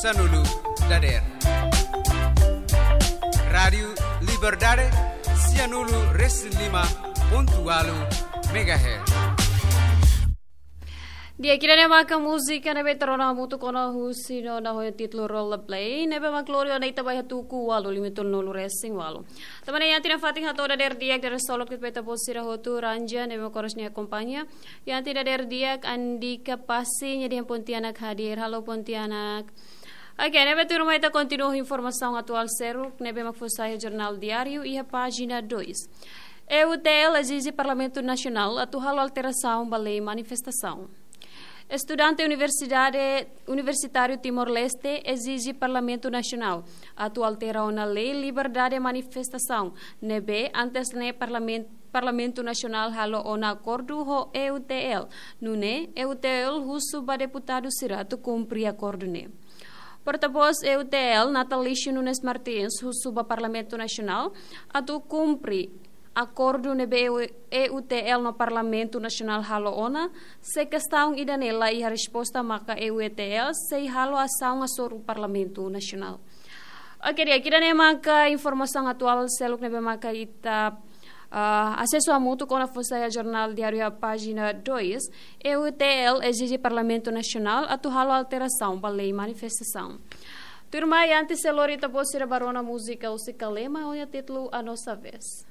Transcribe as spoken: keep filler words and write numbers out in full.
Sanulu dader. Rádiu Liberdade, sianulu resin lima pontu ualu megahertz. Di'ak, ida-ne'e maka múzika ne'ebé ita rona hamutuk ona husi no na ho títulu Rollerblade, ne'ebé mak lori ona ita ba iha tuku ualu lima tolu nulu resin ualu. Tanba ne'e iha tinan fatin hato'o dader di'ak, dader solok ita-boot sira hotu, Ranja ne'ebé mak oras ne'e akompaña. Iha tinan dader di'ak, Andika Pasi nia dehan Pontianak hadir. Halo Pontianak. Oke, ne'ebé tuirmai ita kontinua informasaun atuál seluk ne'ebé mak fó sai iha Jornál Diáriu iha pájina dois. E U T L ezije Parlamentu Nasionál atu halo alterasaun ba lei manifestasaun. Estudante Universidade, Universitáriu Timor-Leste ezije Parlamentu Nasionál atu altera ona lei liberdade manifestasaun ne'ebé antes ne'e Parlamen-, Parlamentu Nasionál halo ona akordu ho E U T L. Nune'e, E U T L husu ba deputadu sira atu kumpre akordu ne'e. Portavós E U T L, Natalício Nunes Martins, husu ba Parlamentu Nasionál atu kumpre akordu ne'ebé E U T L no Parlamentu Nasionál halo ona. Se kestaun ida-ne'e la iha resposta, maka E U T L sei halo asaun hasoru Parlamentu Nasionál. Oke, di'ak, ida-ne'e maka informasaun atuál seluk ne'ebé maka ita, ah, asesu hamutuk ona fó sai iha Jornál Diáriu iha pájina dois. E U T L ezije Parlamentu Nasionál atu halo alterasaun ba lei manifestasaun. Tuirmai, antes sei lori ita-boot sira ba rona múzika husi Kalema ho nia títulu A Nossa Vez.